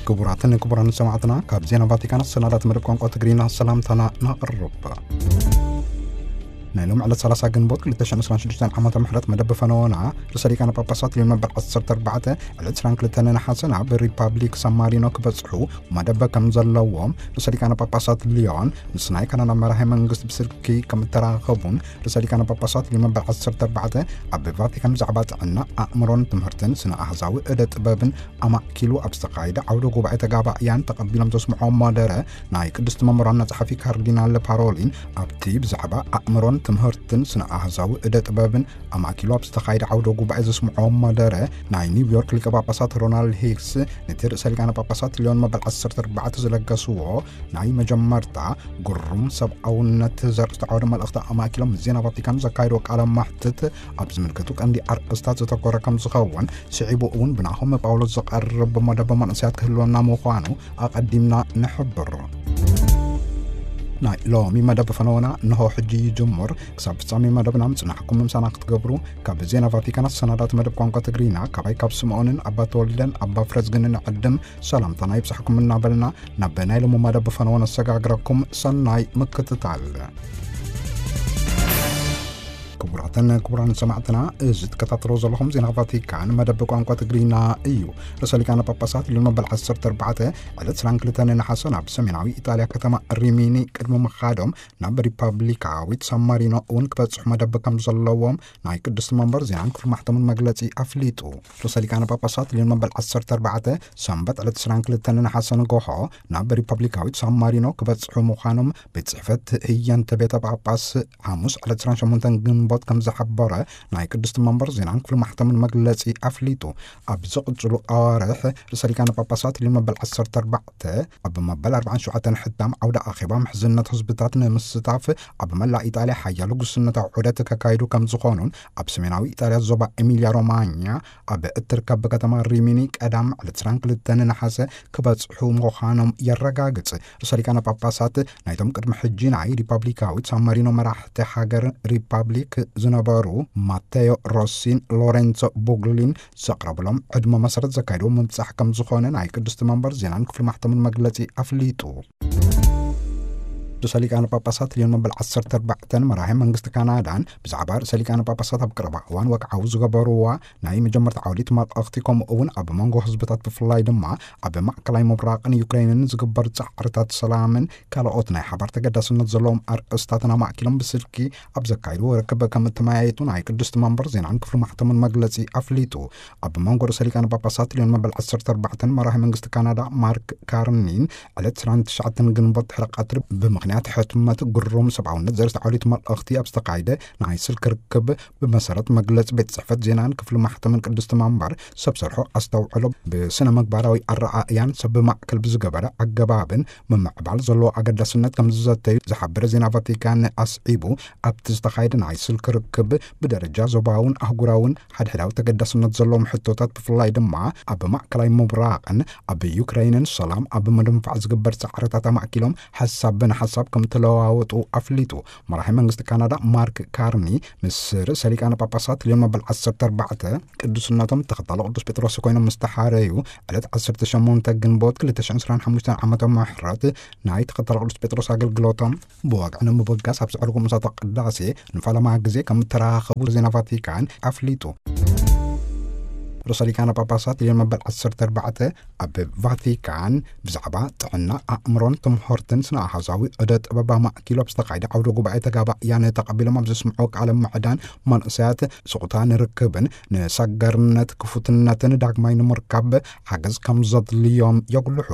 ክቡራትን ክቡራን ሰማዕትና፣ ካብ ዜና ቫቲካን ኣሰናዳት መደብ ቋንቋ ትግርኛ ሰላምታና ነቕርብ። ናይ ሎም ዕለት ሰላሳ ግንቦት ክልተ ሽሕን ዕስራን ሽዱሽተን ዓመተ ምሕረት መደብ ፈነወና፣ ርእሰ ሊቃነ ጳጳሳት ሊዮን መበል ዓሰርተ ኣርባዕተ ዕለት ዕስራን ክልተን ነሓሰ ናብ ሪፓብሊክ ሳን ማሪኖ ክበጽሑ መደብ ከም ዘለዎም ርእሰ ሊቃነ ጳጳሳት ሊዮን ምስ ናይ ካናዳ መራሒ መንግስቲ ብስልኪ ከም እተራኸቡን፣ ርእሰ ሊቃነ ጳጳሳት ሊዮን መበል ዓሰርተ ኣርባዕተ ኣብ ቫቲካን ብዛዕባ ጥዕና ኣእምሮን ትምህርትን ስነ ኣህዛዊ እደ ጥበብን ኣማእኪሉ ኣብ ዝተኻየደ ዓውደ ጉባኤ ተጋባእያን ተቐቢሎም ዘስምዖም መደረ፣ ናይ ቅድስቲ መንበር ዋና ጸሓፊ ካርዲናል ፓሮሊን ኣብቲ ብዛዕባ ኣእምሮን ትምህርትን ስነ ኣህዛዊ እደ ጥበብን ኣማእኪሉ ኣብ ዝተኻየደ ዓውደ ጉባኤ ዘስምዖም መደረ፣ ናይ ኒውዮርክ ሊቀ ጳጳሳት ሮናልድ ሂክስ ነቲ ርእሰ ሊቃነ ጳጳሳት ሊዮን መበል ዓሰርተ ኣርባዕተ ዝለገስዎ ናይ መጀመርታ ግሩም ሰብኣውነት ዘርእስቱ ዓውደ መልእኽቲ ኣማእኪሎም ዜና ቫቲካን ዘካየድዎ ቃለ መሕትት ኣብ ዝምልከቱ ቀንዲ ኣርእስታት ዘተኮረ ከም ዝኸውን፣ ስዒቡ እውን ብናሆም ጳውሎስ ዝቐርብ መደብ መንእሰያት ክህልወና ምዃኑ ኣቐዲምና ንሕብር። ናይ ሎሚ መደብ ፈነወና እንሆ ሕጂ ይጅምር። ክሳብ ፍጻሜ መደብና ምጽናሕኩም ምሳና ክትገብሩ ካብ ዜና ቫቲካን ኣሰናዳት መደብ ቋንቋ ትግርኛ ካባይ ካብ ስምዖንን ኣባ ተወልደን ኣባ ፍረዝግንን ዕድም ሰላምታና ይብጻሕኩም እናበልና፣ ናብ ናይ ሎሚ መደብ ፈነወ ነሰጋግረኩም። ሰናይ ምክትታል። ክቡራትን ክቡራን ሰማዕትና፣ እዚ ትከታተሎ ዘለኹም ዜና ቫቲካን መደብ ቋንቋ ትግርኛ እዩ። ርእሰ ሊቃነ ጳጳሳት ሊዮን መበል ዓሰርተ ኣርባዕተ ዕለት ዕስራን ክልተን ነሓሰ ናብ ሰሜናዊ ኢጣልያ ከተማ ሪሚኒ ቅድሚ ምኻዶም፣ ናብ ሪፓብሊካዊት ሳን ማሪኖ እውን ክበጽሑ መደብ ከም ዘለዎም ናይ ቅድስቲ መንበር ዜናን ክፍሊ ማሕተምን መግለጺ ኣፍሊጡ። ርእሰ ሊቃነ ጳጳሳት ሊዮን መበል ዓሰርተ ኣርባዕተ ሰንበት ዕለት ዕስራን ክልተን ነሓሰ ንጎሆ ናብ ሪፓብሊካዊት ሳን ማሪኖ ክበጽሑ ምዃኖም ቤት ጽሕፈት ህየንተ ቤተ ጳጳስ ሓሙስ ዕለት ዕስራን ሸሞንተን ግንቦት ከም ዝሓበረ ናይ ቅድስቲ መንበር ዜናን ክፍሊ ማሕተምን መግለጺ ኣፍሊጡ። ኣብ ዝቕጽሉ ኣዋርሕ ርእሰ ሊቃነ ጳጳሳት ሊዮን መበል ዓሰርተ ኣርባዕተ ኣብ መበል ኣርባዓን ሸውዓተን ሕታም ዓውደ ኣኼባ ምሕዝነት ህዝብታት ንምስታፍ ኣብ መላእ ኢጣልያ ሓያሎ ጉስነታዊ ዑደት ከካይዱ ከም ዝኾኑን፣ ኣብ ሰሜናዊ ኢጣልያ ዞባ ኤሚልያ ሮማኛ ኣብ እትርከብ ከተማ ሪሚኒ ቀዳም ዕለት ዕስራን ክልተን ነሓሰ ክበጽሑ ምዃኖም የረጋግጽ። ርእሰ ሊቃነ ጳጳሳት ናይቶም ቅድሚ ሕጂ ናይ ሪፓብሊካዊት ሳን ማሪኖ መራሕቲ ሃገር ሪፓብሊክ ዝነበሩ ማቴዮ ሮሲን ሎሬንሶ ቡግሊን ዘቕረብሎም ዕድመ መሰረት ዘካየድዎ ምብጻሕ ከም ዝኾነ ናይ ቅድስቲ መንበር ዜናን ክፍሊ ማሕተምን መግለጺ ኣፍሊጡ። ርእሰ ሊቃነ ጳጳሳት ሊዮን መበል ዓሰርተ ኣርባዕተን መራሒ መንግስቲ ካናዳን ብዛዕባ ርእሰ ሊቃነ ጳጳሳት ኣብ ቀረባ እዋን ወግዓዊ ዝገበርዋ ናይ መጀመርታ ዓውዲት መልእኽቲ፣ ከምኡ እውን ኣብ መንጎ ህዝብታት ብፍላይ ድማ ኣብ ማእከላይ ምብራቕን ዩክሬንን ዝግበር ጻዕርታት ሰላምን ካልኦት ናይ ሓባር ተገዳስነት ዘለዎም ኣርእስታትን ኣማእኪሎም ብስልኪ ኣብ ዘካየድዎ ርክብ ከም እተመያየጡ ናይ ቅድስቲ መንበር ዜናን ክፍሊ ማሕተምን መግለጺ ኣፍሊጡ። ኣብ መንጎ ርእሰ ሊቃነ ጳጳሳት ሊዮን መበል ዓሰርተ ኣርባዕተን መራሒ መንግስቲ ካናዳ ማርክ ካርኒን ዕለት ዕስራን ትሽዓተን ግንቦት ድሕሪ ቀትሪ ብምኽንያት ሕትመት ግሩም ሰብኣውነት ዘርእስታ ዓውዲት መልእኽቲ ኣብ ዝተኻየደ ናይ ስልክ ርክብ ብመሰረት መግለጺ ቤት ጽሕፈት ዜናን ክፍሊ ማሕተምን ቅድስቲ መንበር ሰብ ሰርሖ ኣስተውዕሎ ብስነ ምግባራዊ ኣረኣእያን ሰብ ማእከል ብዝገበረ ኣገባብን ምምዕባል ዘለዎ ኣገዳስነት ከም ዝዘተዩ ዝሓበረ ዜና ቫቲካን ኣስዒቡ፣ ኣብቲ ዝተኻየደ ናይ ስልክ ርክብ ብደረጃ ዞባውን ኣህጉራውን ሓድሕዳዊ ተገዳስነት ዘለዎም ሕቶታት ብፍላይ ድማ ኣብ ማእከላይ ምብራቕን ኣብ ዩክሬንን ሰላም ኣብ ምድንፋዕ ዝግበር ጻዕርታት ኣማእኪሎም ሓሳብ ብንሓሳብ ከም ተለዋወጡ ኣፍሊጡ። መራሒ መንግስቲ ካናዳ ማርክ ካርኒ ምስ ርእሰ ሊቃነ ጳጳሳት ሊዮን መበል ዓሰርተ ኣርባዕተ ቅዱስነቶም ተኸታሎ ቅዱስ ጴጥሮስ ኮይኖም ምስ ተሓረዩ ዕለት ዓሰርተ ሸሞንተ ግንቦት ክልተ ሽሕን ዕስራን ሓሙሽተን ዓመተ ምሕረት ናይ ተኸታሎ ቅዱስ ጴጥሮስ ኣገልግሎቶም ብወግዒ ንምብጋስ ኣብ ዘዕርጉ ምሳቶ ቅዳሴ ንፈለማ ግዜ ከም እተራኸቡ ዜና ቫቲካን ኣፍሊጡ። ርእሰ ሊቃነ ጳጳሳት ሊዮን መበል ዓሰርተ ኣርባዕተ ኣብ ቫቲካን ብዛዕባ ጥዕና ኣእምሮን ትምህርትን ስነ ኣሃዛዊ ዕደ ጥበብ ኣማእኪሉ ኣብ ዝተኻየደ ዓውደ ጉባኤ ተጋባእያን ተቐቢሎም ኣብ ዘስምዑ ቃለ ምዕዳን፣ መንእሰያት ስቑታ ንርክብን ንሰገርነት ክፉትነትን ዳግማይ ንምርካብ ሓገዝ ከም ዘድልዮም የጉልሑ።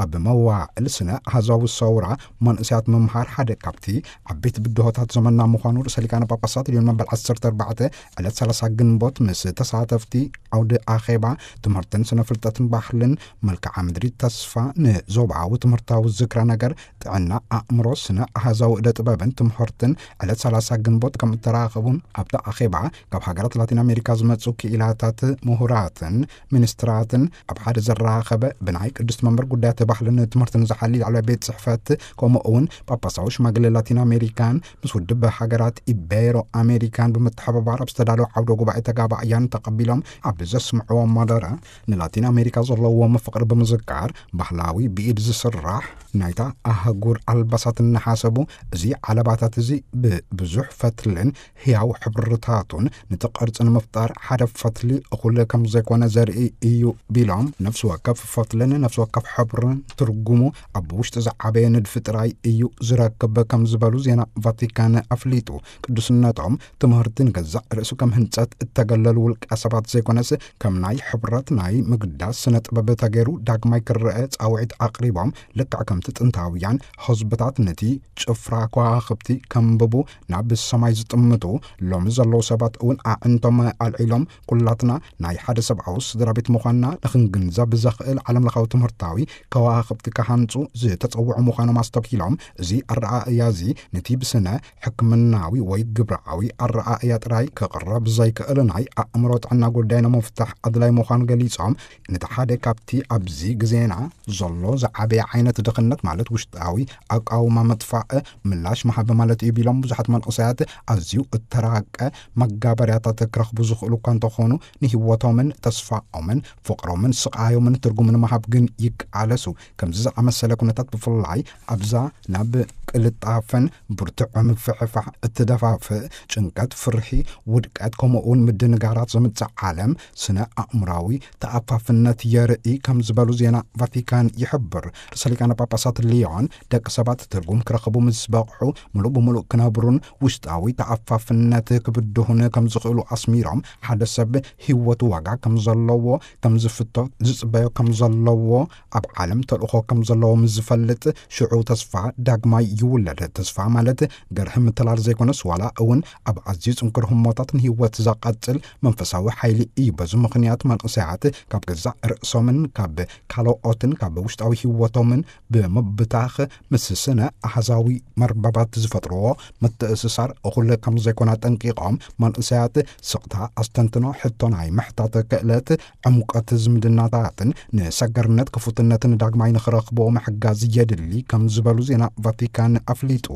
ኣብ መዋዕል ስነ ኣሃዛዊ ሰውራ መንእሰያት ምምሃር ሓደ ካብቲ ዓበይቲ ብድሆታት ዘመንና ምዃኑ ርእሰ ሊቃነ ጳጳሳት ሊዮን መበል ዓሰርተ ኣርባዕተ ዕለት ሰላሳ ግንቦት ምስ ተሳተፍቲ ዓውደ ኣኼባ ትምህርትን ስነ ፍልጠትን ባህልን መልክዓ ምድሪ ተስፋ ንዞባዊ ትምህርታዊ ዝክረ ነገር ጥዕና ኣእምሮ ስነ ኣሃዛዊ እደ ጥበብን ትምህርትን ዕለት ሰላሳ ግንቦት ከም እተራኸቡን ኣብቲ ኣኼባ ካብ ሃገራት ላቲን ኣሜሪካ ዝመጹ ክኢላታት ምሁራትን ሚኒስትራትን ኣብ ሓደ ዘራኸበ ብናይ ቅድስቲ መንበር ጉዳያት ባህልን ትምህርትን ዝሓሊ ላዕለዋይ ቤት ጽሕፈት ከምኡ እውን ጳጳሳዊ ሽማግለ ላቲን ኣሜሪካን ምስ ውድብ ሃገራት ኢቤሮ ኣሜሪካን ብምትሕብባር ኣብ ዝተዳለወ ዓውደ ጉባኤ ተጋባእያን ተቐቢሎም ኣብ ስምዕዎ ማደረ ንላቲን ኣሜሪካ ዘለዎም ፍቕሪ ብምዝካር፣ ባህላዊ ብኢድ ዝስራሕ ናይታ ኣህጉር ኣልባሳት እናሓሰቡ፣ እዚ ዓለባታት እዚ ብብዙሕ ፈትልን ህያው ሕብርታቱን ነቲ ቅርጺ ንምፍጣር ሓደ ፈትሊ እኹል ከም ዘይኮነ ዘርኢ እዩ ቢሎም፣ ነፍሲ ወከፍ ፈትልን ነፍሲ ወከፍ ሕብርን ትርጉሙ ኣብ ውሽጢ ዝዓበየ ንድፊ ጥራይ እዩ ዝረክብ ከም ዝበሉ ዜና ቫቲካን ኣፍሊጡ። ቅዱስነቶም ትምህርቲ ንገዛእ ርእሱ ከም ህንጸት እተገለሉ ውልቀ ሰባት ዘይኮነስ፣ ከም ናይ ሕብረት ናይ ምግዳስ ስነ ጥበብ ተገይሩ ዳግማይ ክረአ ጻውዒት ኣቕሪቦም፣ ልክዕ ከምቲ ጥንታውያን ህዝብታት ነቲ ጭፍራ ከዋኽብቲ ከንብቡ ናብ ሰማይ ዝጥምቱ፣ ሎሚ ዘለዉ ሰባት እውን ኣዕንቶም ኣልዒሎም፣ ኩላትና ናይ ሓደ ሰብኣዊ ስድራ ቤት ምዃንና ንኽንግንዘብ ብዘኽእል ዓለምለኻዊ ትምህርታዊ ከዋኽብቲ ክሃንጹ ዝተጸውዑ ምዃኖም ኣስተብሂሎም፣ እዚ ኣረኣእያ እዚ ነቲ ብስነ ሕክምናዊ ወይ ግብራዊ ኣረኣእያ ጥራይ ክቕረብ ዘይክእል ናይ ኣእምሮ ጥዕና ጉዳይ ንምፍታሕ ኣድላይ ምዃኑ ገሊጾም፣ ነቲ ሓደ ካብቲ ኣብዚ ግዜና ዘሎ ዝዓበየ ዓይነት ድኽነት፣ ማለት ውሽጣዊ ኣቃውማ ምጥፋእ ምላሽ ምሃብ ማለት እዩ ቢሎም፣ ብዙሓት መንእሰያት ኣዝዩ እተራቀ መጋበርያታት ክረኽቡ ዝኽእሉ እኳ እንተኾኑ፣ ንህይወቶምን ተስፋኦምን ፍቕሮምን ስቓዮምን ትርጉም ንምሃብ ግን ይቃለሱ። ከምዚ ዝኣመሰለ ኩነታት፣ ብፍላይ ኣብዛ ናብ ቅልጣፈን ብርቱዕ ምፍሕፋሕ እትደፋፍእ፣ ጭንቀት፣ ፍርሒ፣ ውድቀት፣ ከምኡ እውን ምድንጋራት ዘምጽእ ዓለም ስነ ኣእምራዊ ተኣፋፍነት የርኢ ከም ዝበሉ ዜና ቫቲካን ይሕብር። ርእሰ ሊቃነ ጳጳሳት ሊዮን፣ ደቂ ሰባት ትርጉም ክረኽቡ ምስ በቕሑ፣ ምሉእ ብምሉእ ክነብሩን ውሽጣዊ ተኣፋፍነት ክብድሁን ከም ዝኽእሉ ኣስሚሮም፣ ሓደ ሰብ ህይወቱ ዋጋ ከም ዘለዎ፣ ከም ዝፍቶ ዝጽበዮ ከም ዘለዎ፣ ኣብ ዓለም ተልእኾ ከም ዘለዎ ምስ ዝፈልጥ፣ ሽዑ ተስፋ ዳግማይ ይውለድ። ተስፋ ማለት ገርሂ ምትላል ዘይኮነስ፣ ዋላ እውን ኣብ ኣዝዩ ጽንኩር ህሞታት ንህይወት ዘቐጽል መንፈሳዊ ሓይሊ እዩ። በዚ ምኽንያት መንእሰያት ካብ ገዛእ ርእሶምን ካብ ካልኦትን ካብ ውሽጣዊ ህይወቶምን ብምብታኽ፣ ምስ ስነ ኣሃዛዊ መርበባት ዝፈጥርዎ ምትእስሳር እኹል ከም ዘይኮነ ኣጠንቂቖም፣ መንእሰያት ስቕታ፣ ኣስተንትኖ፣ ሕቶ፣ ናይ ምሕታት ክእለት፣ ዕምቆት ዝምድናታትን ንሰገርነት ክፉትነትን ዳግማይ ንኽረኽብዎ ምሕጋዝ የድሊ ከም ዝበሉ ዜና ቫቲካን ኣፍሊጡ።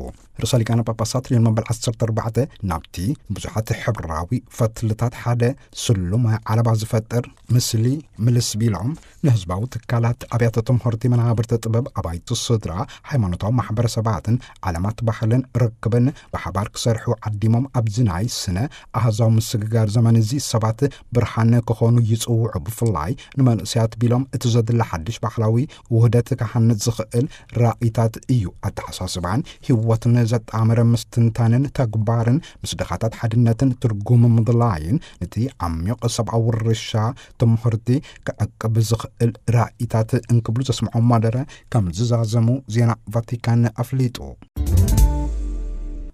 ርእሰ ሊቃነ ጳጳሳት ሊዮን መበል ዓሰርተ ኣርባዕተ ናብቲ ብዙሓት ሕብራዊ ፈትልታት ሓደ ስሉም ዓለባ ዝፈጥር ምስሊ ምልስ ቢሎም፣ ንህዝባዊ ትካላት፣ ኣብያተ ትምህርቲ፣ መናብርቲ ጥበብ፣ ኣባይቲ ስድራ፣ ሃይማኖታዊ ማሕበረሰባትን ዓለማት ባህልን ርክብን ብሓባር ክሰርሑ ዓዲሞም፣ ኣብዚ ናይ ስነ ኣሃዛዊ ምስግጋር ዘመን እዚ ሰባት ብርሃን ክኾኑ ይጽውዑ። ብፍላይ ንመንእሰያት ቢሎም፣ እቲ ዘድሊ ሓድሽ ባህላዊ ውህደት ክሃንጽ ዝኽእል ራእይታት እዩ። ኣተሓሳስባን ህይወትን ዘጣመረ ምስትንታንን ተግባርን፣ ምስ ድኻታት ሓድነትን ትርጉም ምድላይን፣ ነቲ ዓሚቕ ሰብኣዊ ውርሻ ትምህርቲ ክዕቅብ ዝኽእል ራእይታት እንክብሉ ዘስምዖም ማደረ ከም ዝዛዘሙ ዜና ቫቲካን ኣፍሊጡ።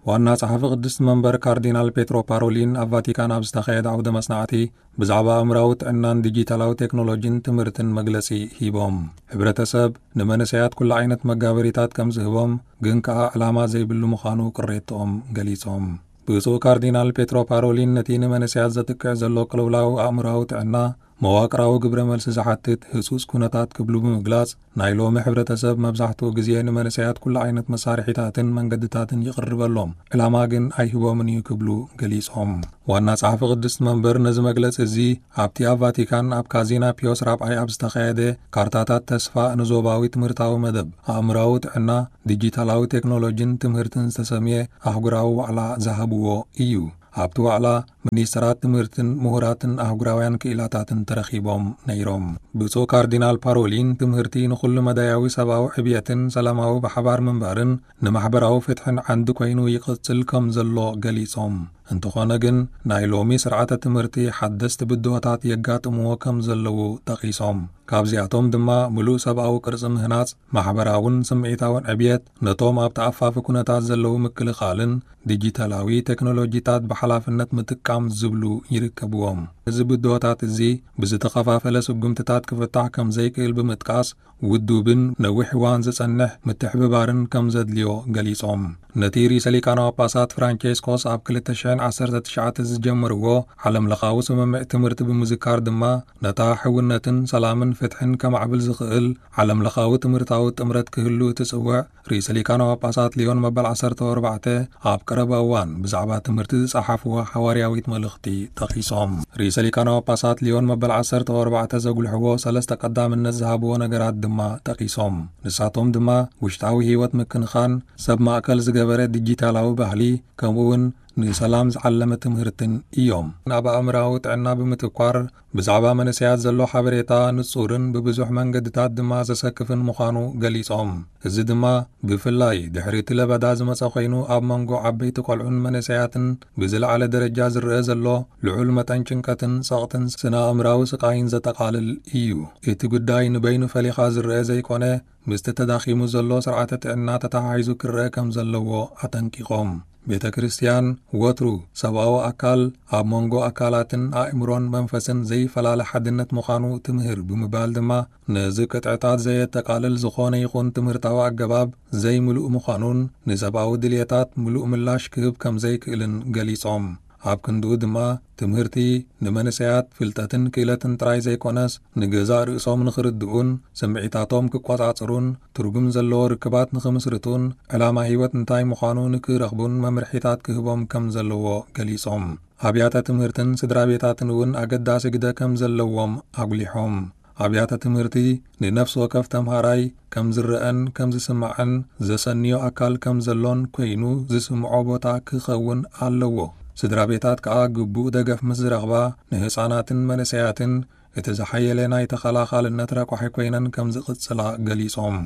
ዋና ጸሓፊ ቅድስቲ መንበር ካርዲናል ፔትሮ ፓሮሊን ኣብ ቫቲካን ኣብ ዝተኻየደ ዓውደ መጽናዕቲ ብዛዕባ ኣእምራዊ ጥዕናን ዲጂታላዊ ቴክኖሎጂን ትምህርትን መግለጺ ሂቦም። ሕብረተሰብ ንመንእሰያት ኩሉ ዓይነት መጋበሪታት ከም ዝህቦም፣ ግን ከኣ ዕላማ ዘይብሉ ምዃኑ ቅሬትኦም ገሊጾም። ብፁዕ ካርዲናል ፔትሮ ፓሮሊን ነቲ ንመንእሰያት ዘጥቅዕ ዘሎ ቅልውላው ኣእምራዊ ጥዕና መዋቅራዊ ግብረ መልሲ ዝሓትት ህጹጽ ኩነታት ክብሉ ብምግላጽ፣ ናይ ሎሚ ሕብረተሰብ መብዛሕትኡ ግዜ ንመንእሰያት ኩሉ ዓይነት መሳርሒታትን መንገድታትን ይቕርበሎም፣ ዕላማ ግን ኣይህቦምን እዩ ክብሉ ገሊጾም። ዋና ጸሓፊ ቅድስቲ መንበር ነዚ መግለጺ እዚ ኣብቲ ኣብ ቫቲካን ኣብ ካዚና ፒዮስ ራብዓይ ኣብ ዝተኻየደ ካርታታት ተስፋ ንዞባዊ ትምህርታዊ መደብ ኣእምራዊ ጥዕና፣ ዲጂታላዊ ቴክኖሎጂን ትምህርትን ዝተሰምየ ኣህጉራዊ ዋዕላ ዝሃብዎ እዩ። ኣብቲ ዋዕላ ሚኒስትራት ትምህርትን ምሁራትን ኣህጉራውያን ክኢላታትን ተረኺቦም ነይሮም። ብፁዕ ካርዲናል ፓሮሊን ትምህርቲ ንኹሉ መዳያዊ ሰብኣዊ ዕብየትን ሰላማዊ ብሓባር ምንባርን ንማሕበራዊ ፍትሕን ዓንዲ ኮይኑ ይቕጽል ከም ዘሎ ገሊጾም። እንተኾነ ግን ናይ ሎሚ ስርዓተ ትምህርቲ ሓደስቲ ብድሆታት የጋጥምዎ ከም ዘለዉ ጠቒሶም። ካብዚኣቶም ድማ ምሉእ ሰብኣዊ ቅርጺ ምህናጽ፣ ማሕበራውን ስምዒታውን ዕብየት፣ ነቶም ኣብ ተኣፋፊ ኩነታት ዘለዉ ምክልኻልን ዲጂታላዊ ቴክኖሎጂታት ብሓላፍነት ምጥቃም ዝብሉ ይርከብዎም። እዚ ብድሆታት እዚ ብዝተኸፋፈለ ስጉምትታት ክፍታሕ ከም ዘይክእል ብምጥቃስ፣ ውዱብን ነዊሕ እዋን ዝጸንሕ ምትሕብባርን ከም ዘድልዮ ገሊጾም። ነቲ ርእሰ ሊቃነ ጳጳሳት ፍራንቼስኮስ ኣብ ክልተ ሽሕን ዓሰርተ ትሽዓተ ዝጀመርዎ ዓለምለኻዊ ስምምዕ ትምህርቲ ብምዝካር ድማ፣ ነታ ሕውነትን ሰላምን ፍትሕን ከማዕብል ዝኽእል ዓለምለኻዊ ትምህርታዊ ጥምረት ክህሉ እትጽውዕ ርእሰ ሊቃነ ጳጳሳት ሊዮን መበል ዓሰርተ ኣርባዕተ ኣብ ቀረባ እዋን ብዛዕባ ትምህርቲ ዝጸሓፍዋ ሓዋርያዊት መልእኽቲ ጠቒሶም። ርእሰ ሊቃነ ጳጳሳት ሊዮን መበል ዓሰርተ ኣርባዕተ ዘጉልሕዎ ሰለስተ ቀዳምነት ዝሃብዎ ነገራት ድማ ጠቒሶም። ንሳቶም ድማ ውሽጣዊ ህይወት ምክንኻን፣ ሰብ ማእከል ዝገበረ ዲጂታላዊ ባህሊ፣ ከምኡ እውን ንሰላም ዝዓለመ ትምህርትን እዮም። ናብ ኣእምራዊ ጥዕና ብምትኳር፣ ብዛዕባ መንእሰያት ዘሎ ሓበሬታ ንጹርን ብብዙሕ መንገድታት ድማ ዘሰክፍን ምዃኑ ገሊጾም። እዚ ድማ ብፍላይ ድሕሪ እቲ ለበዳ ዝመጸ ኮይኑ፣ ኣብ መንጎ ዓበይቲ ቆልዑን መንእሰያትን ብዝለዓለ ደረጃ ዝረአ ዘሎ ልዑል መጠን ጭንቀትን ጸቕጥን ስነ ኣእምራዊ ስቓይን ዘጠቓልል እዩ። እቲ ጉዳይ ንበይኑ ፈሊኻ ዝረአ ዘይኮነ፣ ምስቲ ተዳኺሙ ዘሎ ስርዓተ ጥዕና ተተሓሒዙ ክረአ ከም ዘለዎ ኣጠንቂቖም። ቤተ ክርስቲያን ወትሩ ሰብኣዊ ኣካል ኣብ መንጎ ኣካላትን ኣእምሮን መንፈስን ዘይፈላለ ሓድነት ምዃኑ ትምህር ብምባል ድማ፣ ነዚ ቅጥዕታት ዘየጠቓልል ዝኾነ ይኹን ትምህርታዊ ኣገባብ ዘይምሉእ ምዃኑን ንሰብኣዊ ድልየታት ምሉእ ምላሽ ክህብ ከም ዘይክእልን ገሊጾም። ኣብ ክንድኡ ድማ ትምህርቲ ንመንእሰያት ፍልጠትን ክእለትን ጥራይ ዘይኮነስ፣ ንገዛእ ርእሶም ንኽርድኡን ስምዒታቶም ክቆጻጽሩን ትርጉም ዘለዎ ርክባት ንኽምስርቱን ዕላማ ህይወት እንታይ ምዃኑ ንክረኽቡን መምርሒታት ክህቦም ከም ዘለዎ ገሊጾም። ኣብያተ ትምህርትን ስድራ ቤታትን እውን ኣገዳሲ ግደ ከም ዘለዎም ኣጉሊሖም። ኣብያተ ትምህርቲ ንነፍሲ ወከፍ ተምሃራይ ከም ዝረአን ከም ዝስማዕን ዘሰንዮ ኣካል ከም ዘሎን ኮይኑ ዝስምዖ ቦታ ክኸውን ኣለዎ። ስድራ ቤታት ከኣ ግቡእ ደገፍ ምስ ዝረኽባ፣ ንህጻናትን መንእሰያትን እቲ ዝሓየለ ናይ ተኸላኻልነት ረቋሒ ኮይነን ከም ዝቕጽላ ገሊጾም።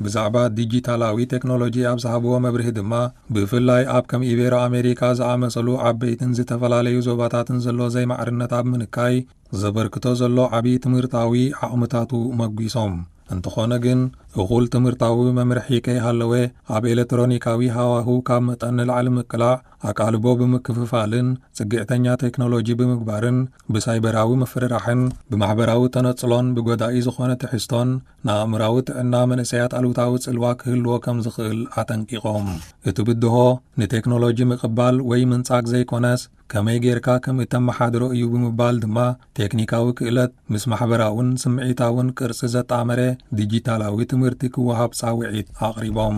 ብዛዕባ ዲጂታላዊ ቴክኖሎጂ ኣብ ዝሃብዎ መብርሂ ድማ፣ ብፍላይ ኣብ ከም ኢቤሮ ኣሜሪካ ዝኣመሰሉ ዓበይትን ዝተፈላለዩ ዞባታትን ዘሎ ዘይማዕርነት ኣብ ምንካይ ዘበርክቶ ዘሎ ዓቢ ትምህርታዊ ዓቕምታቱ መጒሶም። እንተኾነ ግን፣ እኹል ትምህርታዊ መምርሒ ከይሃለወ፣ ኣብ ኤሌክትሮኒካዊ ሃዋሁ ካብ መጠን ንላዕሊ ምቅላዕ፣ ኣቃልቦ ብምክፍፋልን ጽግዕተኛ ቴክኖሎጂ ብምግባርን፣ ብሳይበራዊ ምፍርራሕን ብማሕበራዊ ተነጽሎን ብጎዳኢ ዝኾነ ትሕዝቶን ንኣእምራዊ ጥዕና መንእሰያት ኣሉታዊ ጽልዋ ክህልዎ ከም ዝኽእል ኣጠንቂቖም። እቲ ብድሆ ንቴክኖሎጂ ምቕባል ወይ ምንጻግ ዘይኮነስ፣ ከመይ ጌርካ ከም እተመሓድሮ እዩ ብምባል ድማ፣ ቴክኒካዊ ክእለት ምስ ማሕበራውን ስምዒታውን ቅርጺ ዘጣመረ ዲጂታላዊ ትምህርቲ ክወሃብ ጻውዒት ኣቕሪቦም።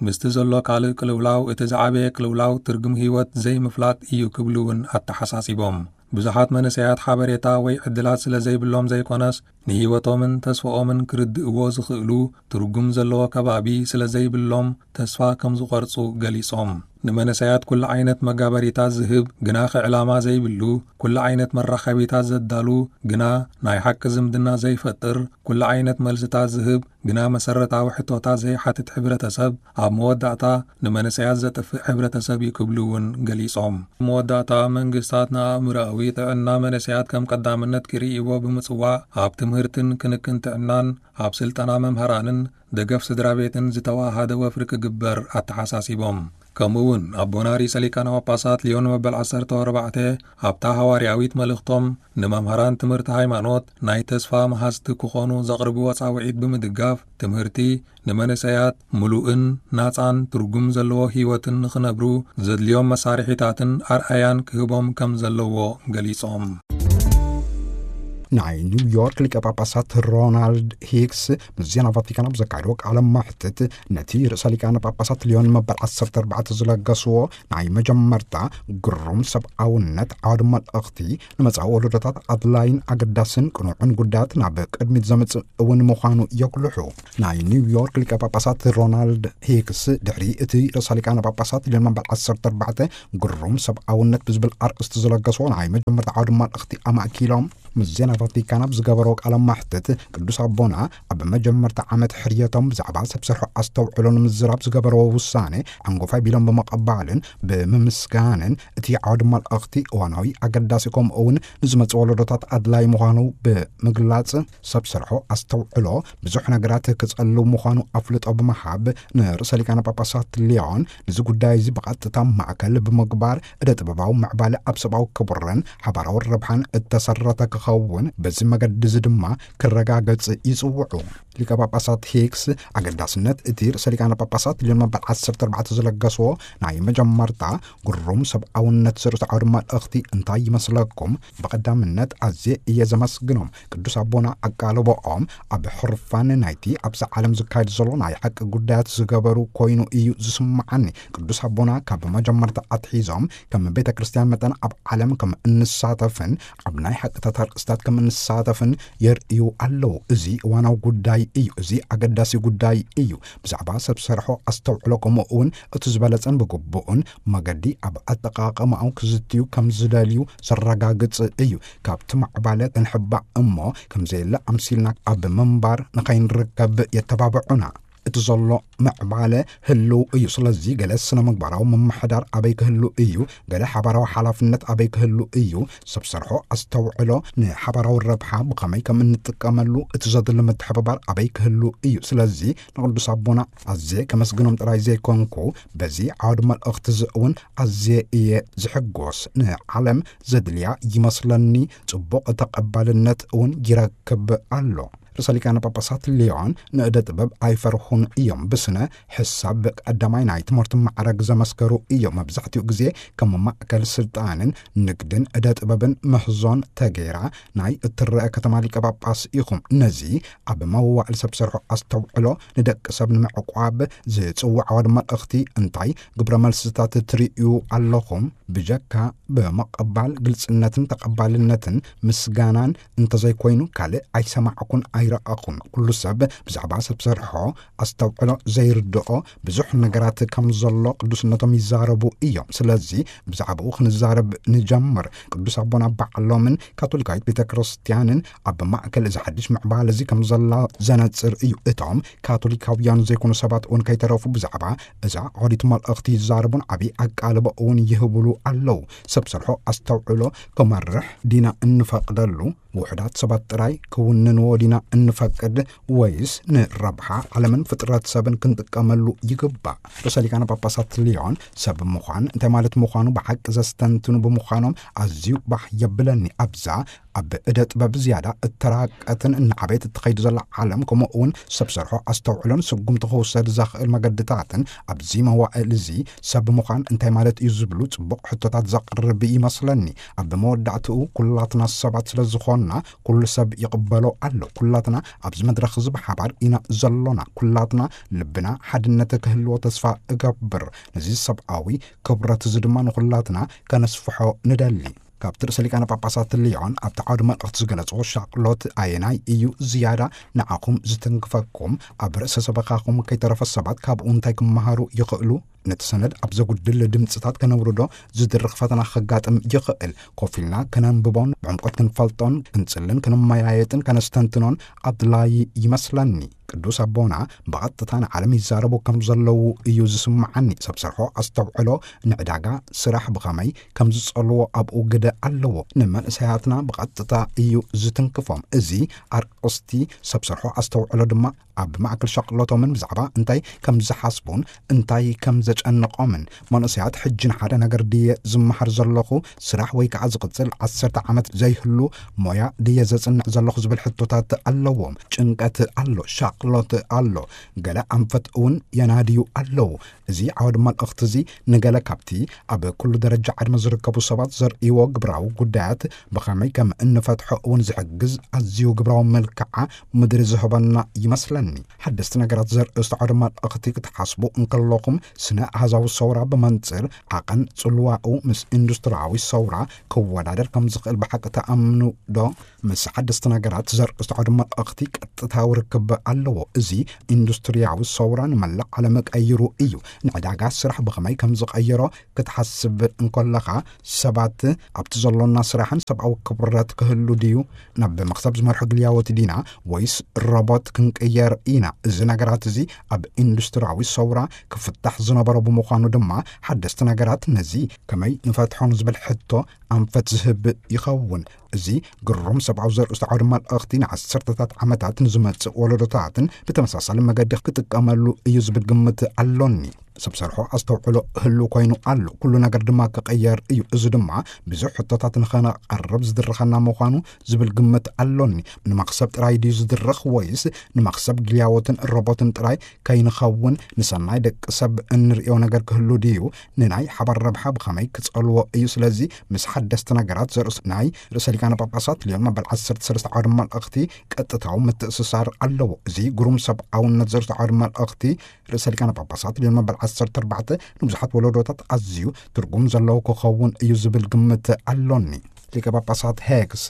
ምስቲ ዘሎ ካልእ ቅልውላው፣ እቲ ዝዓበየ ቅልውላው ትርጉም ህይወት ዘይምፍላጥ እዩ ክብሉ እውን ኣተሓሳሲቦም። ብዙሓት መንእሰያት ሓበሬታ ወይ ዕድላት ስለ ዘይብሎም ዘይኮነስ፣ ንህይወቶምን ተስፋኦምን ክርድእዎ ዝኽእሉ ትርጉም ዘለዎ ከባቢ ስለ ዘይብሎም ተስፋ ከም ዝቖርጹ ገሊጾም። ንመንእሰያት ኩሉ ዓይነት መጋበሪታት ዝህብ ግና ከዕላማ ዘይብሉ፣ ኩሉ ዓይነት መራኸቢታት ዘዳሉ ግና ናይ ሓቂ ዝምድና ዘይፈጥር፣ ኩሉ ዓይነት መልስታት ዝህብ ግና መሰረታዊ ሕቶታት ዘይሓትት ሕብረተሰብ፣ ኣብ መወዳእታ ንመንእሰያት ዘጥፍእ ሕብረተሰብ እዩ ክብሉ እውን ገሊጾም። ኣብ መወዳእታ መንግስታት ንኣእምሮኣዊ ጥዕና መንእሰያት ከም ቀዳምነት ክርእይዎ ብምጽዋዕ፣ ኣብ ትምህርትን ክንክን ጥዕናን፣ ኣብ ስልጠና መምህራንን ደገፍ ስድራ ቤትን ዝተዋሃደ ወፍሪ ክግበር ኣተሓሳሲቦም። ከምኡ እውን ኣቦና ርእሰ ሊቃነ ጳጳሳት ሊዮን መበል ዓሰርተ ኣርባዕተ ኣብታ ሃዋርያዊት መልእኽቶም ንመምህራን ትምህርቲ ሃይማኖት ናይ ተስፋ መሃዝቲ ክኾኑ ዘቕርብዎ ጻውዒት ብምድጋፍ፣ ትምህርቲ ንመንእሰያት ምሉእን ናጻን ትርጉም ዘለዎ ህይወትን ንኽነብሩ ዘድልዮም መሳርሒታትን ኣርኣያን ክህቦም ከም ዘለዎ ገሊጾም። ናይ ኒውዮርክ ሊቀ ጳጳሳት ሮናልድ ሂክስ ምስ ዜና ቫቲካን ኣብ ዘካየድዎ ቃለ መሕትት፣ ነቲ ርእሰ ሊቃነ ጳጳሳት ሊዮን መበል ዓሰርተ ኣርባዕተ ዝለገስዎ ናይ መጀመርታ ግሩም ሰብኣውነት ዓውዲ መልእኽቲ፣ ንመጻኢ ወለዶታት ኣድላይን ኣገዳስን ቅኑዕን ጉዳያት ናብ ቅድሚት ዘምጽእ እውን ምዃኑ የጉልሑ። ናይ ኒውዮርክ ሊቀ ጳጳሳት ሮናልድ ሂክስ፣ ድሕሪ እቲ ርእሰ ሊቃነ ጳጳሳት ሊዮን መበል ዓሰርተ ኣርባዕተ ግሩም ሰብኣውነት ብዝብል ኣርእስቲ ዝለገስዎ ናይ መጀመርታ ዓውዲ መልእኽቲ ኣማእኪሎም፣ ምስ ዜና ቫቲካን ኣብ ዝገበርዎ ቃለ መሕትት፣ ቅዱስ ኣቦና ኣብ መጀመርታ ዓመት ሕርየቶም ብዛዕባ ሰብ ሰርሖ ኣስተውዕሎ ንምዝራብ ዝገበርዎ ውሳኔ ዓንጎፋይ ቢሎም ብምቕባልን ብምምስጋንን፣ እቲ ዓውዲ መልእኽቲ እዋናዊ፣ ኣገዳሲ፣ ከምኡ እውን ንዝመጽእ ወለዶታት ኣድላይ ምዃኑ ብምግላጽ፣ ሰብ ሰርሖ ኣስተውዕሎ ብዙሕ ነገራት ክጸልው ምዃኑ ኣፍልጦ ብምሃብ፣ ንርእሰ ሊቃነ ጳጳሳት ሊዮን ነዚ ጉዳይ እዚ ብቐጥታ ማእከል ብምግባር፣ እደ ጥበባዊ ምዕባለ ኣብ ሰብኣዊ ክብርን ሓባራዊ ረብሓን እተሰረተ ክኸውን፣ በዚ መገዲ እዚ ድማ ክረጋገጽ ይጽውዑ። ሊቀ ጳጳሳት ሂክስ ኣገዳስነት እቲ ርእሰ ሊቃነ ጳጳሳት ሊዮን መበል ዓሰርተ ኣርባዕተ ዝለገስዎ ናይ መጀመርታ ግሩም ሰብኣውነት ዝርእሱ ዓውዲ መልእኽቲ እንታይ ይመስለኩም? ብቐዳምነት ኣዝየ እየ ዘመስግኖም። ቅዱስ ኣቦና ኣቃልቦኦም ኣብ ሕርፋን ናይቲ ኣብዛ ዓለም ዝካየድ ዘሎ ናይ ሓቂ ጉዳያት ዝገበሩ ኮይኑ እዩ ዝስምዓኒ። ቅዱስ ኣቦና ካብ መጀመርታ ኣትሒዞም ከም ቤተ ክርስቲያን መጠን ኣብ ዓለም ከም እንሳተፍን ኣብ ናይ ሓቅታት ኣርእስታት ከም እንሳተፍን የርእዩ ኣለዉ። እዚ እዋናዊ ጉዳይ እዩ። እዚ ኣገዳሲ ጉዳይ እዩ። ብዛዕባ ሰብ ሰርሖ ኣስተውዕሎ ከምኡ እውን እቲ ዝበለጸን ብግቡእን መገዲ ኣብ ኣጠቓቕማኡ ክዝትዩ ከም ዝደልዩ ዘረጋግጽ እዩ። ካብቲ ማዕባለ ክንሕባእ እሞ ከም ዘየለ ኣምሲልና ኣብ ምንባር ንኸይንርከብ የተባብዑና። እቲ ዘሎ ምዕባለ ህልው እዩ። ስለዚ ገለ ስነ ምግባራዊ ምምሕዳር ኣበይ ክህሉ እዩ? ገለ ሓባራዊ ሓላፍነት ኣበይ ክህሉ እዩ? ሰብ ሰርሖ ኣስተውዕሎ ንሓባራዊ ረብሓ ብኸመይ ከም እንጥቀመሉ እቲ ዘድሊ ምትሕብባር ኣበይ ክህሉ እዩ? ስለዚ ንቅዱስ ኣቦና ኣዝየ ከመስግኖም ጥራይ ዘይኮንኩ፣ በዚ ዓውዲ መልእኽቲ እዚ እውን ኣዝየ እየ ዝሕጎስ። ንዓለም ዘድልያ ይመስለኒ፣ ጽቡቕ ተቐባልነት እውን ይረክብ ኣሎ። ርእሰ ሊቃነ ጳጳሳት ሊዮን ንእደ ጥበብ ኣይፈርሁን እዮም። ብስነ ሕሳብ ቀዳማይ ናይ ትምህርቲ ማዕረግ ዘመስከሩ እዮም። መብዛሕትኡ ግዜ ከም ማእከል ስልጣንን ንግድን እደ ጥበብን ምህዞን ተገይራ ናይ እትረአ ከተማ ሊቀ ጳጳስ ኢኹም። ነዚ ኣብ መዋዕል ሰብ ሰርሖ ኣስተውዕሎ ንደቂ ሰብ ንምዕቋብ ዝጽውዕ ዓውዲ መልእኽቲ እንታይ ግብረ መልስታት ትርእዩ ኣለኹም? ብጀካ ብምቕባል ግልጽነትን ተቐባልነትን ምስጋናን እንተዘይኮይኑ ካልእ ኣይሰማዕኩን ኣይረኣኹን። ኩሉ ሰብ ብዛዕባ ሰብ ሰርሖ ኣስተውዕሎ ዘይርድኦ ብዙሕ ነገራት ከም ዘሎ ቅዱስነቶም ይዛረቡ እዮም። ስለዚ ብዛዕባኡ ክንዛረብ ንጀምር። ቅዱስ ኣቦና ባዕሎምን ካቶሊካዊት ቤተ ክርስቲያንን ኣብ ማእከል እዚ ሓድሽ ምዕባለ እዚ ከም ዘላ ዘነጽር እዩ። እቶም ካቶሊካውያን ዘይኮኑ ሰባት እውን ከይተረፉ ብዛዕባ እዛ ኦሪት መልእኽቲ ይዛረቡን ዓብዪ ኣቃልቦ እውን ይህብሉ ኣለዉ። ሰብ ሰርሖ ኣስተውዕሎ ክመርሕ ዲና እንፈቅደሉ? ውሑዳት ሰባት ጥራይ ክውንንዎ ዲና እንፈቅድ? ወይስ ንረብሓ ዓለምን ፍጥረት ሰብን ክንጥቀመሉ ይግባእ? ርእሰ ሊቃነ ጳጳሳት ሊዮን ሰብ ምዃን እንታይ ማለት ምዃኑ ብሓቂ ዘስተንትኑ ብምዃኖም ኣዝዩ ባህ የብለኒ። ኣብዛ ኣብ እደ ጥበብ ዝያዳ እተራቀትን እናዓበየት እትኸይድ ዘላ ዓለም፣ ከምኡ እውን ሰብ ሰርሖ ኣስተውዕሎን ስጉምቲ ክውሰድ ዘኽእል መገድታትን ኣብዚ መዋእል እዚ ሰብ ምዃን እንታይ ማለት እዩ ዝብሉ ጽቡቕ ሕቶታት ዘቕርብ ይመስለኒ። ኣብ መወዳእትኡ ኩላትና ሰባት ስለ ዝኾንና ኩሉ ሰብ ይቕበሎ ኣሎ። ኩላትና ኣብዚ መድረኽ እዚ ብሓባር ኢና ዘሎና። ኩላትና ልብና ሓድነት ክህልዎ ተስፋ እገብር። ነዚ ሰብኣዊ ክብረት እዚ ድማ ንኹላትና ከነስፍሖ ንደሊ። ካብቲ ርእሰ ሊቃነ ጳጳሳት ሊዮን ኣብቲ ዓውዲ መልእኽቲ ዝገለጾ ሻቕሎት ኣየናይ እዩ ዝያዳ ንዓኹም ዝትንክፈኩም? ኣብ ርእሰ ሰበኻኹም ከይተረፈ ሰባት ካብኡ እንታይ ክመሃሩ ይኽእሉ? ነቲ ሰነድ ኣብ ዘጉድል ድምጽታት ከነውርዶ ዝድርኽ ፈተና ከጋጥም ይኽእል። ኮፍ ኢልና ከነንብቦን ብዕምቆት ክንፈልጦን ክንጽልን ክንመያየጥን ከነስተንትኖን ኣድላዪ ይመስለኒ። ቅዱስ ኣቦና ብቐጥታ ንዓለም ይዛረቡ ከም ዘለዉ እዩ ዝስምዓኒ። ሰብ ሰርሖ ኣስተውዕሎ ንዕዳጋ ስራሕ ብኸመይ ከም ዝጸልዎ ኣብኡ ግደ ኣለዎ። ንመንእሰያትና ብቐጥታ እዩ ዝትንክፎም። እዚ ኣርእስቲ ሰብ ሰርሖ ኣስተውዕሎ ድማ ኣብ ማእከል ሻቕሎቶምን ብዛዕባ እንታይ ከም ዝሓስቡን እንታይ ከም ዘጨንቖምን፣ መንእሰያት ሕጂ ንሓደ ነገር ድየ ዝመሃር ዘለኹ፣ ስራሕ ወይ ከኣ ዝቕጽል ዓሰርተ ዓመት ዘይህሉ ሞያ ድየ ዘጽንዕ ዘለኹ ዝብል ሕቶታት ኣለዎም። ጭንቀት ኣሎ፣ ሻቕሎት ኣሎ፣ ገለ ኣንፈት እውን የናድዩ ኣለዉ። እዚ ዓውዲ መልእኽቲ እዚ ንገለ ካብቲ ኣብ ኩሉ ደረጃ ዕድመ ዝርከቡ ሰባት ዘርእይዎ ግብራዊ ጉዳያት ብኸመይ ከም እንፈትሖ እውን ዝሕግዝ ኣዝዩ ግብራዊ መልክዓ ምድሪ ዝህበና ይመስለኒ። ሓደስቲ ነገራት ዘርእስቲ ዓውዲ መልእኽቲ ክትሓስቡ እንከለኹም፣ ስነ ኣሃዛዊ ሰውራ ብመንጽር ዓቐን ጽልዋኡ ምስ ኢንዱስትሪያዊ ሰውራ ክወዳደር ከም ዝኽእል ብሓቂ ትኣምኑ ዶ? ምስ ሓደስቲ ነገራት ዘርእስቲ ዓውዲ መልእኽቲ ቀጥታዊ ርክብ ኣለዎ። እዚ ኢንዱስትሪያዊ ሰውራ ንመላእ ዓለም ቀይሩ እዩ። ንዕዳጋ ስራሕ ብኸመይ ከም ዝቐየሮ ክትሓስብ እንከለኻ፣ ሰባት ኣብቲ ዘሎና ስራሕን ሰብኣዊ ክብረት ክህሉ ድዩ? ናብ መኽሰብ ዝመርሑ ግልያዎት ዲና ወይስ ሮቦት ክንቅየር ኢና? እዚ ነገራት እዚ ኣብ ኢንዱስትሪያዊ ሰውራ ክፍታሕ ዝነበሮ ብምዃኑ ድማ፣ ሓደስቲ ነገራት ነዚ ከመይ ንፈትሖ ንዝብል ሕቶ ኣንፈት ዝህብ ይኸውን። እዚ ግሩም ሰብኣዊ ዘርእስቲ ዓውዲ መልእኽቲ ንዓሰርተታት ዓመታት ንዝመጽእ ወለዶታትን ብተመሳሳሊ መገዲ ክጥቀመሉ እዩ ዝብል ግምት ኣሎኒ። ሰብ ሰርሖ ኣስተውዕሎ ህሉ ኮይኑ ኣሎ። ኩሉ ነገር ድማ ክቐየር እዩ። እዚ ድማ ብዙሕ ሕቶታት ንኸነቐርብ ዝድርኸና ምዃኑ ዝብል ግምት ኣሎኒ። ንመኽሰብ ጥራይ ድዩ ዝድረኽ፣ ወይስ ንመኽሰብ ግልያዎትን ሮቦትን ጥራይ ከይንኸውን ንሰናይ ደቂ ሰብ እንርእዮ ነገር ክህሉ ድዩ? ንናይ ሓባር ረብሓ ብኸመይ ክጸልዎ እዩ? ስለዚ ምስ ሓደስቲ ነገራት ዘርእስ ናይ ርእሰ ሊቃነ ጳጳሳት ልዮን መበል ዓሰርተ ሰለስተ ዓውደ መልእኽቲ ቀጥታዊ ምትእስሳር ኣለዎ። እዚ ግሩም ሰብኣውነት ዘርእስተ ዓውደ መልእኽቲ ርእሰ ሊቃነ ጳጳሳት ልዮን መበል ዓሰርተ ኣርባዕተ ንብዙሓት ወለዶታት ኣዝዩ ትርጉም ዘለዎ ክኸውን እዩ ዝብል ግምት ኣሎኒ። ሊቀ ጳጳሳት ሄክስ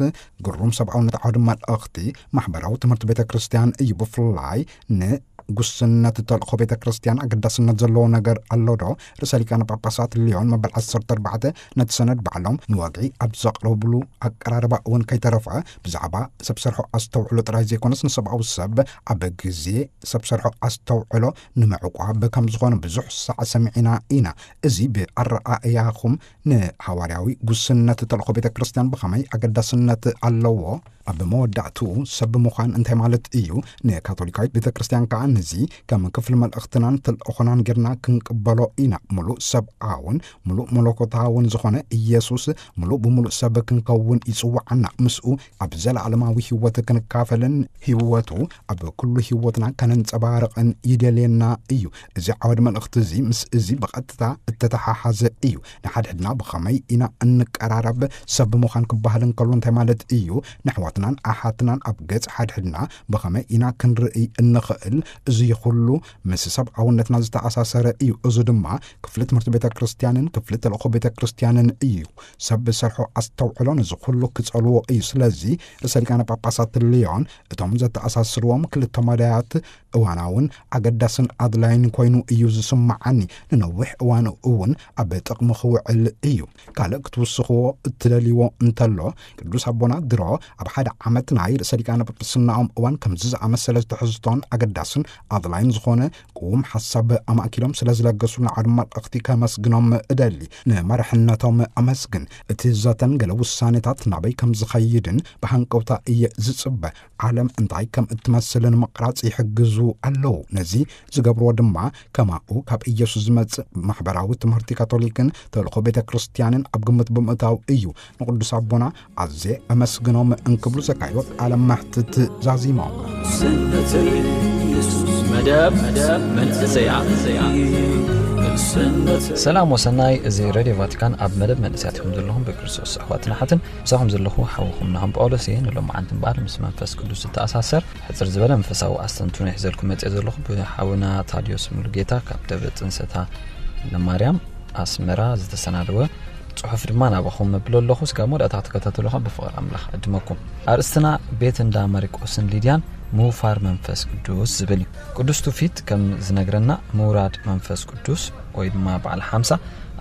ግሩም ሰብኣውነት ዓውደ መልእኽቲ ማሕበራዊ ትምህርቲ ቤተ ክርስቲያን እዩ። ብፍላይ ንጉስነት ተልእኾ ቤተ ክርስቲያን ኣገዳስነት ዘለዎ ነገር ኣሎ ዶ? ርእሰ ሊቃነ ጳጳሳት ልዮን መበል ዓሰርተ ኣርባዕተ ነቲ ሰነድ ባዕሎም ንወግዒ ኣብ ዘቕረብሉ ኣቀራርባ እውን ከይተረፈ ብዛዕባ ሰብ ሰርሖ ኣስተውዕሎ ጥራይ ዘይኮነስ ንሰብኣዊ ሰብ ኣብ ግዜ ሰብ ሰርሖ ኣስተውዕሎ ንምዕቋብ ከም ዝኾነ ብዙሕ ሳዕ ሰሚዕና ኢና። እዚ ብኣረኣእያኹም ንሃዋርያዊ ጉስነት ተልእኾ ቤተ ክርስቲያን ብኸመይ ኣገዳስነት ኣለዎ? ኣብ መወዳእትኡ ሰብ ምዃን እንታይ ማለት እዩ? ንካቶሊካዊት ቤተ ክርስቲያን ከኣ ነዚ ከም ክፍሊ መልእኽትናን ተልእኾናን ጌርና ክንቅበሎ ኢና። ምሉእ ሰብኣውን ምሉእ መለኮታውን ዝኾነ ኢየሱስ ምሉእ ብምሉእ ሰብ ክንከውን ይጽውዓና። ምስኡ ኣብ ዘለዓለማዊ ህይወት ክንካፈልን ህይወቱ ኣብ ኩሉ ህይወትና ከነንጸባርቕን ይደልየና እዩ። እዚ ዓወድ መልእኽቲ እዚ ምስ እዚ ብቐጥታ እተተሓሓዘ እዩ። ንሓድሕድና ብኸመይ ኢና እንቀራረብ? ሰብ ብምዃን ክበሃል እንከሎ እንታይ ማለት እዩ? ንኣሕዋትናን ኣሓትናን ኣብ ገጽ ሓድሕድና ብኸመይ ኢና ክንርኢ እንኽእል? እዚ ኩሉ ምስ ሰብኣውነትና ዝተኣሳሰረ እዩ። እዚ ድማ ክፍሊ ትምህርቲ ቤተ ክርስቲያንን ክፍሊ ተልእኾ ቤተ ክርስቲያንን እዩ። ሰብ ብሰርሖ ኣስተውዕሎ ነዚ ኩሉ ክጸልዎ እዩ። ስለዚ ርእሰ ሊቃነ ጳጳሳት ልዮን እቶም ዘተኣሳስርዎም ክልተ መዳያት እዋናውን ኣገዳስን ኣድላይን ኮይኑ እዩ ዝስምዓኒ። ንነዊሕ እዋን እውን ኣብ ጥቕሚ ክውዕል እዩ። ካልእ ክትውስኽዎ እትደልይዎ እንተሎ፣ ቅዱስ ኣቦና ድሮ ኣብ ሓደ ዓመት ናይ ርእሰ ሊቃነ ጳጳስናኦም እዋን ከምዚ ዝኣመሰለ ትሕዝቶን ኣገዳስን ኣድላይን ዝኾነ ቅዉም ሓሳብ ኣማእኪሎም ስለ ዝለገሱልና ዓውደ መልእኽቲ ከመስግኖም እደሊ። ንመራሕነቶም ኣመስግን። እቲ ዘተን ገለ ውሳኔታት ናበይ ከም ዝኸይድን ብሃንቀውታ እየ ዝጽበ። ዓለም እንታይ ከም እትመስል ንምቕራጽ ይሕግዙ ኣለዉ። ነዚ ዝገብርዎ ድማ ከማኡ ካብ ኢየሱስ ዝመጽእ ማሕበራዊ ትምህርቲ ካቶሊክን ተልእኾ ቤተ ክርስቲያንን ኣብ ግምት ብምእታው እዩ። ንቅዱስ ኣቦና ኣዝየ ኣመስግኖም እንክብሉ ዘካይዶ ቃለ መሕትት ዛዚሞም። ሰንበት ኢየሱስ መደብ መንእሰያ። ሰላም ወሰናይ፣ እዚ ሬድዮ ቫቲካን ኣብ መደብ መንእሰያት ኢኹም ዘለኹም ብክርስቶስ ኣሕዋትን ኣሓትን። ምሳኹም ዘለኹ ሓውኹም ናሆም ጳውሎስ እየ። ንሎማዓንቲ እምበኣር ምስ መንፈስ ቅዱስ ዝተኣሳሰር ሕጽር ዝበለ መንፈሳዊ ኣስተንትኖ ሒዘልኩም መጽእ ዘለኹ ብሓውና ታድዮስ ሙሉጌታ ካብ ደብረ ጽንሰታ ለማርያም ኣስመራ ዝተሰናደወ ጽሑፍ ድማ ናባኹም መብሎ ኣለኹ። ስጋብ መወዳእታ ክትከታተሉኻ ብፍቕሪ ኣምላኽ ዕድመኩም። ኣርእስትና ቤት እንዳ ማሪቆስን ሊድያን ምውፋር መንፈስ ቅዱስ ዝብል እዩ። ቅዱስ ትውፊት ከም ዝነግረና ምውራድ መንፈስ ቅዱስ ወይ ድማ በዓል ሓምሳ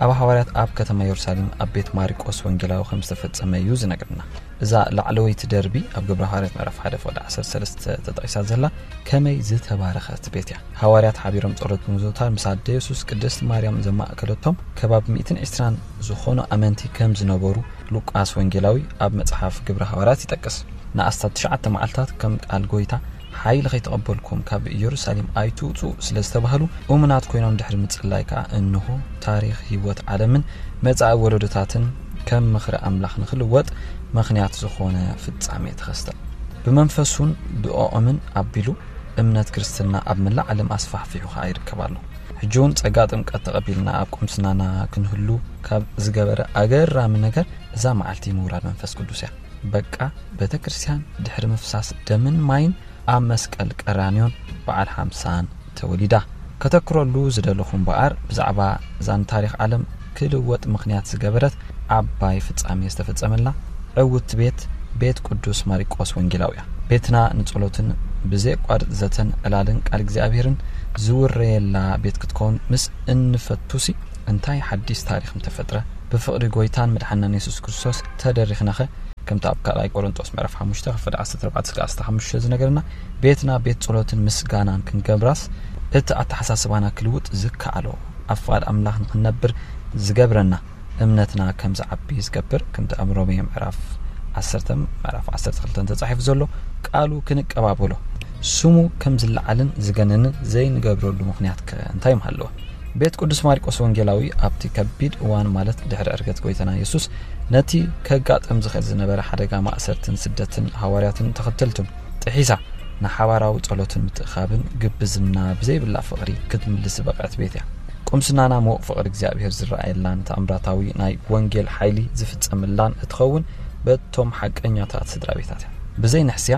ኣብ ሃዋርያት ኣብ ከተማ የሩሳሌም ኣብ ቤት ማሪቆስ ወንጌላዊ ከም ዝተፈጸመ እዩ ዝነግረና። እዛ ላዕለወይቲ ደርቢ ኣብ ግብረ ሃዋርያት ምዕራፍ ሓደ ፍቕዲ ዓሰርተ ሰለስተ ተጠቒሳ ዘላ ከመይ ዝተባረኸት ቤት እያ። ሃዋርያት ሓቢሮም ጸሎት ብምዝውታር ምስ ኣደ የሱስ ቅድስቲ ማርያም ዘማእከለቶም ከባቢ ሚእትን ዕስራን ዝኾኑ ኣመንቲ ከም ዝነበሩ ሉቃስ ወንጌላዊ ኣብ መጽሓፍ ግብረ ሃዋርያት ይጠቅስ። ንኣስታት ትሽዓተ መዓልታት ከም ቃል ጎይታ ሓይሊ ከይተቐበልኩም ካብ ኢየሩሳሌም ኣይትውጹ ስለ ዝተባህሉ እሙናት ኮይኖም ድሕሪ ምጽላይ ከኣ እንሆ ታሪኽ ህይወት ዓለምን መጻኢ ወለዶታትን ከም ምኽሪ ኣምላኽ ንኽልወጥ ምኽንያት ዝኾነ ፍጻሜ ተኸስተ። ብመንፈሱን ብኦኦምን ኣቢሉ እምነት ክርስትና ኣብ መላእ ዓለም ኣስፋሕፊሑ ከኣ ይርከብ ኣሎ። ሕጂ እውን ጸጋ ጥምቀት ተቐቢልና ኣብ ቁምስናና ክንህሉ ካብ ዝገበረ ኣገራሚ ነገር እዛ መዓልቲ ምውራድ መንፈስ ቅዱስ እያ። በቃ ቤተ ክርስቲያን ድሕሪ ምፍሳስ ደምን ማይን ኣብ መስቀል ቀራንዮን በዓል ሓምሳን ተወሊዳ። ከተክረሉ ዝደለኹ እምበኣር ብዛዕባ እዛ ንታሪኽ ዓለም ክልወጥ ምኽንያት ዝገበረት ዓባይ ፍጻሜ ዝተፈጸመላ ዕውቲ ቤት ቤት ቅዱስ ማሪቆስ ወንጌላዊ እያ። ቤትና ንጸሎትን ብዘየቋርጽ ዘተን ዕላልን ቃል እግዚኣብሔርን ዝውረየላ ቤት ክትከውን ምስ እንፈቱሲ እንታይ ሓዲስ ታሪኽ ምተፈጥረ? ብፍቕሪ ጎይታን መድሓናን የሱስ ክርስቶስ ተደሪኽናኸ? ከምቲ ኣብ ካልኣይ ቆሮንጦስ ምዕራፍ ሓሙሽተ ክፍሊ ዓሰርተ ኣርባዕተ እስከ ዓሰርተ ሓሙሽተ ዝነገረና ቤትና ቤት ጸሎትን ምስጋናን ክንገብራስ እቲ ኣተሓሳስባና ክልውጥ ዝከኣሎ ኣብ ፍቓድ ኣምላኽ ንኽንነብር ዝገብረና እምነትና ከም ዝዓቢ ዝገብር ከምቲ ኣብ ሮሜ ምዕራፍ ዓሰርተ ምዕራፍ ዓሰርተ ክልተ ተጻሒፉ ዘሎ ቃሉ ክንቀባበሎ ስሙ ከም ዝለዓልን ዝገነንን ዘይንገብረሉ ምኽንያት ከ እንታይ ምሃለወ? ቤት ቅዱስ ማርቆስ ወንጌላዊ ኣብቲ ከቢድ እዋን፣ ማለት ድሕሪ ዕርገት ጎይታና የሱስ፣ ነቲ ከጋጥም ዝኽእል ዝነበረ ሓደጋ ማእሰርትን ስደትን ሃዋርያትን ተኸተልቱን ጥሒሳ፣ ንሓባራዊ ጸሎትን ምትእኻብን ግብዝና ብዘይብላ ፍቕሪ ክትምልስ ዝበቕዐት ቤት እያ። ቁምስናና ምዉቕ ፍቕሪ እግዚኣብሔር ዝረኣየላን ተኣምራታዊ ናይ ወንጌል ሓይሊ ዝፍጸመላን እትኸውን በቶም ሓቀኛታት ስድራ ቤታት እያ። ብዘይ ንሕስያ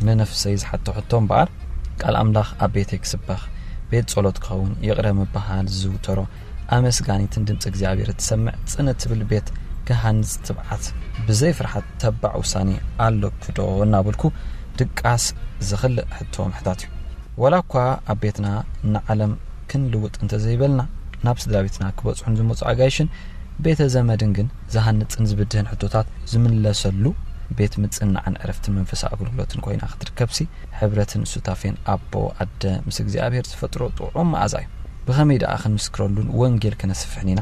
ንነፍሰይ ዝሓተሕቶ እምበኣር፣ ቃል ኣምላኽ ኣብ ቤተይ ክስበኽ፣ ቤት ጸሎት ክኸውን፣ ይቕረ ምብሃል ዝዝውተሮ፣ ኣመስጋኒትን ድምፂ እግዚኣብሔር እትሰምዕ ጽን እትብል ቤት ክሃንጽ ትብዓት፣ ብዘይ ፍርሓት ተባዕ ውሳኔ ኣለኩ ዶ እናበልኩ ድቃስ ዝኽልእ ሕቶ ምሕታት እዩ። ወላ እኳ ኣብ ቤትና ንዓለም ክንልውጥ እንተዘይበልና፣ ናብ ስድራ ቤትና ክበጽሑን ዝመጹ ኣጋይሽን ቤተ ዘመድን ግን ዝሃንጽን ዝብድህን ሕቶታት ዝምለሰሉ ቤት ምጽንናዕን ዕረፍትን መንፈሳዊ ኣገልግሎትን ኮይና ክትርከብሲ፣ ሕብረትን ሱታፌን ኣቦ ኣደ ምስ እግዚኣብሔር ዝፈጥሮ ጥዑም መኣዛ እዩ። ብኸመይ ደኣ ክንምስክረሉን ወንጌል ከነስፍሕን ኢና?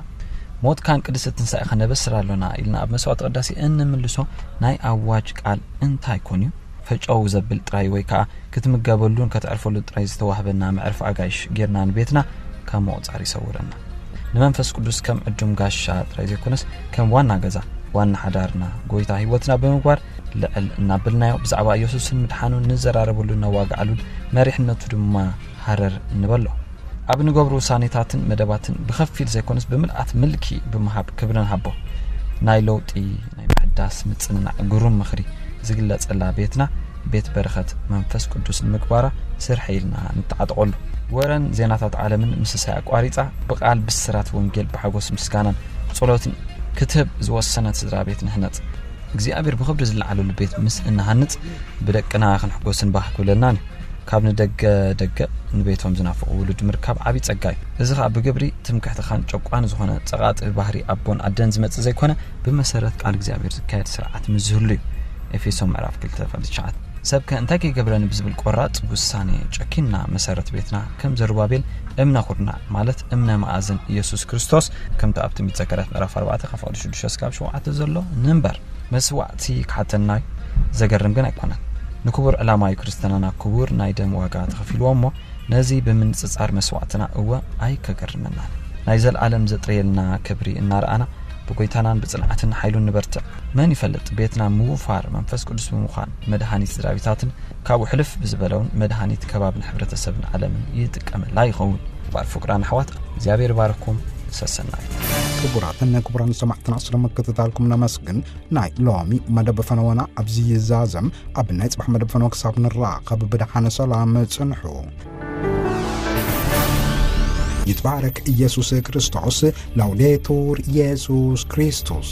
ሞትካን ቅድስቲ ትንሳኤኻ ነበስር ኣሎና ኢልና ኣብ መስዋዕቲ ቅዳሴ እንምልሶ ናይ ኣዋጅ ቃል እንታይ ኮን እዩ? ፈጨው ዘብል ጥራይ ወይ ከኣ ክትምገበሉን ከተዕርፈሉን ጥራይ ዝተዋህበና መዕርፊ ኣጋይሽ ጌርና ንቤትና ካብ ምቑጻር ይሰውረና። ንመንፈስ ቅዱስ ከም ዕዱም ጋሻ ጥራይ ዘይኮነስ፣ ከም ዋና ገዛ፣ ዋና ሓዳርና፣ ጎይታ ህይወትና ብምግባር ልዕል እናበልናዮ ብዛዕባ ኢየሱስን ምድሓኑን ንዘራረበሉን ነዋግዓሉን መሪሕነቱ ድማ ሃረር ንበሎ። ኣብ ንገብሮ ውሳኔታትን መደባትን ብኸፊል ዘይኮነስ ብምልኣት ምልኪ ብምሃብ ክብሪ ንሃቦ። ናይ ለውጢ፣ ናይ ምሕዳስ ምጽንናዕ ግሩም ምኽሪ ዝግለጸላ ቤትና ቤት በረኸት መንፈስ ቅዱስ ንምግባራ ስርሐ ኢልና ንተዓጠቐሉ። ወረን ዜናታት ዓለምን ምስሳይ ኣቋሪጻ ብቓል ብስራት ወንጌል ብሓጎስ ምስጋናን ጸሎትን ክትህብ ዝወሰነት ስድራ ቤት ንህነጽ። እግዚኣብሔር ብኽብሪ ዝለዓለሉ ቤት ምስ እንሃንጽ ብደቅና ክንሕጎስን ባህ ክብለልናን እዩ። ካብ ንደገ ደገ ንቤቶም ዝናፍቑ ውሉድ ምርካብ ዓብዪ ጸጋ እዩ። እዚ ኸኣ ብግብሪ ትምክሕትኻን ጨቋኒ ዝኾነ ጸቓጢ ባህሪ ኣቦን ኣደን ዝመጽእ ዘይኮነ፣ ብመሰረት ቃል እግዚኣብሔር ዝካየድ ስርዓት ምስ ዝህሉ እዩ። ኤፌሶን ምዕራፍ ክልተ ፍቕዲ ትሽዓተ። ሰብከ እንታይ ከይገብረኒ ብዝብል ቆራጽ ውሳኔ ጨኪንና መሰረት ቤትና ከም ዘሩባቤል እምነ ኩርናዕ፣ ማለት እምነ መኣዝን ኢየሱስ ክርስቶስ፣ ከምቲ ኣብ ትንቢት ዘካርያስ ምዕራፍ ኣርባዕተ ካብ ፍቕዲ ሽዱሽተ እስካብ ሸውዓተ ዘሎ ንንበር። መስዋዕቲ ክሓተና እዩ። ዘገርም ግን ኣይኮነን። ንክቡር ዕላማ እዩ ክርስትናና ክቡር ናይ ደም ዋጋ ተኸፊልዎ እሞ፣ ነዚ ብምንጽጻር መስዋዕትና እወ ኣይከገርመናን። ናይ ዘልኣለም ዘጥረየልና ክብሪ እናረኣና ብጎይታናን ብጽንዓትን ሓይሉን ንበርትዕ። መን ይፈልጥ፣ ቤትና ምውፋር መንፈስ ቅዱስ ብምዃን መድሃኒት ስድራቤታትን ካብኡ ሕልፍ ብዝበለውን መድሃኒት ከባብን ሕብረተሰብን ዓለምን ይጥቀመላ ይኸውን። ባር ፍቅራን ኣሕዋት እግዚኣብሔር ይባርኩም። ሰሰናዩ። ክቡራትን ክቡራን ሰማዕትና ስለምክትታልኩም ነመስግን። ናይ ሎሚ መደብ ፈነወና ኣብዚ ይዛዘም። ኣብ ናይ ጽባሕ መደብ ፈነወ ክሳብ ንራኸብ ብድሓነ ሰላም ጽንሑ። ይትባረክ ኢየሱስ ክርስቶስ። ላውዴቱር ኢየሱስ ክርስቶስ።